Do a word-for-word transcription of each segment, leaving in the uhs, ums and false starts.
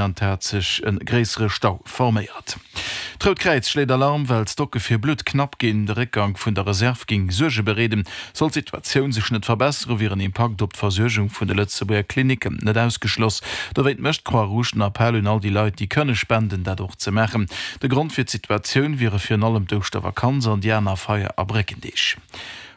An et hat sech e gréissere Stau forméiert. D'Rout Kräiz schléit Alarm, well d'Stocke fir Blutt knapp ginn. De Réckgank vun der Reserv géing Suerge bereeden. Sollt d'Situatioun sech net verbesseren, wier en Impakt op d'Versuergung vun de Lëtzebuerger Klinicken net ausgeschloss. Dowéint mécht d'Croix-Rouge den Appell un all déi Leit, déi kënne spenden, dat och ze maachen. De Grond fir d'Situatioun wiere virun allem d'Ouschtervakanz an déi aner Feier a Bréckendeeg.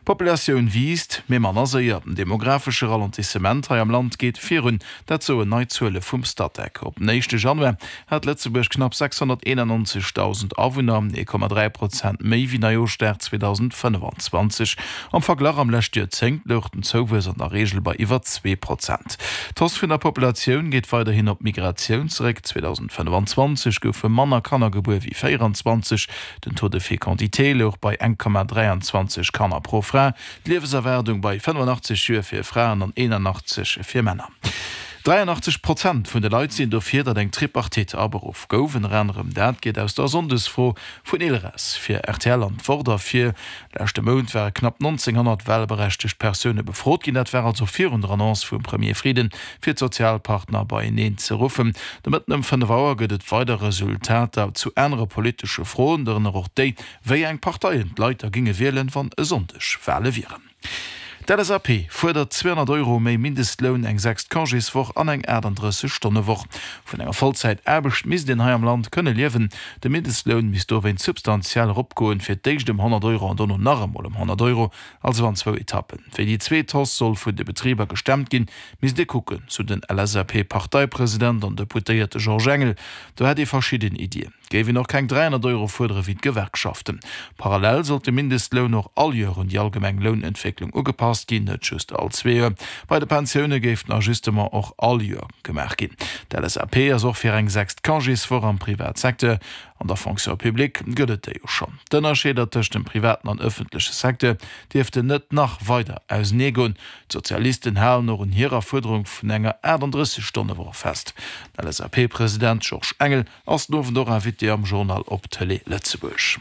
D'Populatioun wiisst, mee manner séier. Den demografesche Ralentissement hei am Land geet virun, dat soen nei Zuele vum Statec. Op den éischte Januar hat Lëtzebuerg knapp sechshonnerteenannonzegdausend Awunner, ee Komma dräi Prozent méi wéi Neijooschdag zweedausendfënnefanzwanzeg. Am Verglach am leschte Joerzéngt louch den Zouwuess an der Reegel bei iwwer zwee Prozent. D'Hausse vun der Populatioun geet weiderhin op d'Migratioun zeréck. zweedausendfënnefanzwanzeg goufe manner Kanner gebuer wéi véieranzwanzeg. Den Taux de fécondité louch bei eng Komma dräianzwanzeg Kanner pro Fra, d'Liewenserwaardung bei fënnefenachtzeg Joer fir Fraen an eenanachtzeg fir Männer. dräianachtzeg Prozent vun de Leit sinn dofir, datt eng Tripartite aberuff gouf. Ënner anerem dat geet aus der Sonndesfro vun Ilres fir rtl an d'Wort ervir. Leschte Mount ware knapp nonzénghonnert walberechtegt Persoune befrot ginn. Dat war also virun der Annonce vum Premier Frieden, fir d'Sozialpartner beieneen ze ruffen. De Mëtten ëm fënnef Auer gëtt et weider Resultater zu anere politesche Froen, dorënner och déi, wéi eng Parteien d'Leit da géinge wielen, wann e Sonndeg Wale wieren. D'LSAP fuerdert zweehonnert Euro méi Mindestloun, eng sechst Congéswoch an eng aachtanddrësseg Stonnewoch. Vun enger Vollzäitaarbecht misst een hei am Land kënne liewen. De Mindestloun misst dowéinst substantiell eropgoen, fir d'éischt ëm honnert Euro an dono nach emol ëm honnert Euro, also an zwou Etappen. Wéi déi zweet Hausse soll vun de Betriber gestemmt ginn, misst ee kucken, sou den LSAP-Parteipresident an Deputéierte Georges Engel. Do hätt ee verschidden Iddien. Géif een och keng dräihonnert Euro fuerdere wéi d'Gewerkschaften. Parallel sollt de Mindestloun och all Joer un déi allgemeng Lounentwécklung ugepasst ginn, net just all zwee Joer. Bei de Pensioune géif den Ajustement och all Joer gemaach ginn. D'LSAP ass och fir eng sechst Congéswoch am Privatsecteur. An der Fonction publique gëtt et déi jo schonn. D'Ënnerscheeder tëscht dem privaten an ëffentleche Secteur dierften net nach weider auseneegoen. D'Sozialisten halen och un hirer Fuerderung vun enger aachtanddrësseg Stonnewoch fest. Den LSAP-President Georges Engel ass den Owend och Invité am Journal op Tëlee Lëtzebuerg.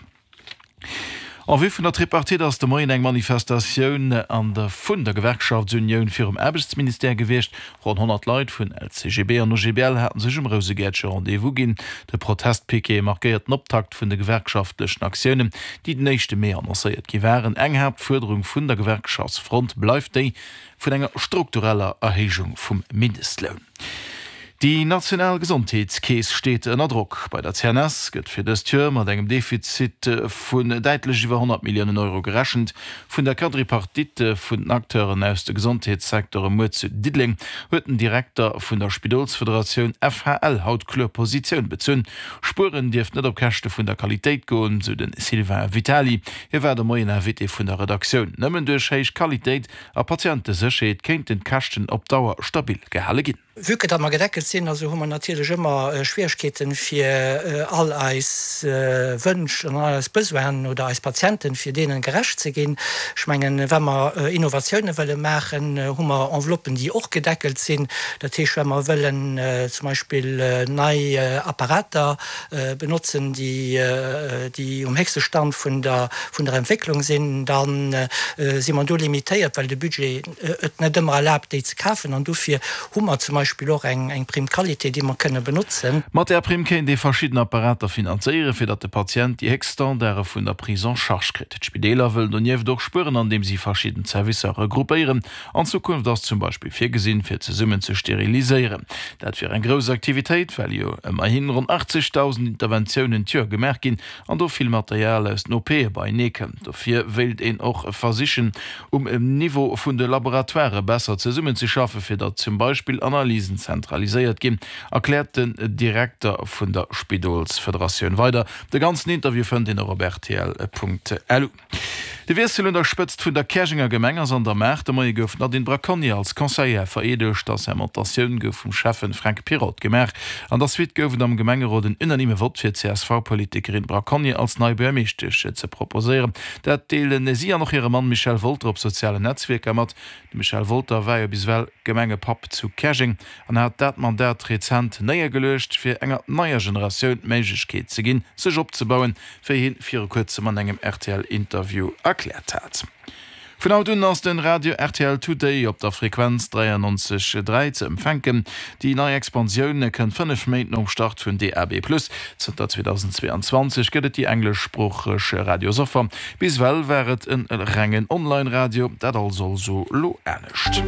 En vue vun der Tripartite ass de Moien eng Manifestatioun an der vun der Gewerkschaftsunioun virum Aarbechtsministère gewiescht. Ronn honnert Leit vun L C G B an O G B L haten sech um Rousegäertche Rendez-vous ginn. De Protestpiquet markéiert den Optakt vun de gewerkschaftlechen Aktiounen, déi den éischte Mee annoncéiert gi waren. Eng Haaptfuerderung vun der Gewerkschaftsfront bleift déi vun enger struktureller Erhéijung vum Mindestloun. Déi national Gesondheetskeess steet ënner Drock. Bei der C N S gëtt fir dëst Joer mat engem Defizit vun däitlech iwwer honnert Milliounen Euro gerechent. Vun der Quadripartite vun den Acteuren aus de Gesondheetssecteure muer zu Diddeleng huet den Direkter vun der Spidolsfederatioun F H L haut kloer Positioun bezunn. Spueren dierft net op Käschte vun der Qualitéit goen, sou de Sylvain Vitali. Hie war de Moien Invité vun der Redaktioun. Nëmmen duerch héich Qualitéit a Patientesécherheet kéinten d'Käschten op Dauer stabil gehale ginn. Vue que datt mer gedeckelt sinn, also hu mer natierlech ëmmer Schwieregkeeten, fir all eis Wënsch an all eis Besoinen oder eis Patienten, fir deenen gerecht ze ginn. Ech mengen, wa mer Innovatioune wëlle maachen, hu mer Enveloppen, déi och gedeckelt sinn. Dat heescht, wa mer wëllen zum Beispill nei Apparater benotzen, déi déi um héchste Stand vun der vun der Entwécklung sinn, da si mer do limitéiert, well de Budget et net ëmmer erlaabt, déi ze kafen. An dofir hu mer zum Beispill och eng eng Prime qualité, déi mer kënne benotzen. Mat där Primm kéint ee verschidden Apparater finanzéieren, fir datt de Patient déi héchst Standarde vun der Prise en charge kritt. D'Spideeler wëllen donieft och spueren, andeem si verschidden Zerwisser regroupéieren. An Zukunft ass zum Beispill virgesinn, fir zesummen ze steriliséieren. Dat wier eng grouss Aktivitéit, well jo ëmmerhin ronn achtzegdausend Interventiounen d'Joer gemaach ginn an do vill Material aus den O P beienee kënnt. Dofir wéilt een och versichen, um Niveau vun de Laboratoirë besser zesummenzeschaffen, fir datt zum Beispill Analysen zentraliséiert ginn, erkläert den Direkter vun der Spidolsfederatioun weider. De ganzen Interview fënnt een och op rtl Punkt lu. De Wiessel un der Spëtzt vun der Käerjenger Gemeng ass an der Maach. De Moie gouf d'Nadine Braconnier als Conseillère vereedegt. D'Assermentatioun gouf vum Schäffen Fränk Pirotte gemaach. An der Suite gouf et am Gemengerot en unanime Vott fir d'C S V-Politikerin Braconnier als nei Buergermeeschtesch ze proposéieren. Dat deelen si an och hire Mann Michel Wolter op sozialen Netzwierker mat. De Michel Wolter war jo bis ewell Gemengepapp zu Käerjeng an hat dat Mandat rezent néiergeluecht, fir enger neier Generatioun d'Méiglechkeet ze ginn, sech opzebauen, wéi hien viru kuerzem an engem R T L-Interview erkläert hat. Vun haut un ass den Radio rtl Today op der Frequenz dräiannonzeg dräi ze empfänken. Déi nei Expansioun kënnt fënnef Méint nom Start vun D A B plus. Zënter zweedausendzweeanzwanzeg gëtt et déi engleschsproocheg Radiosoffer. Bis ewell war et e rengen Online-Radio, dat also elo anescht.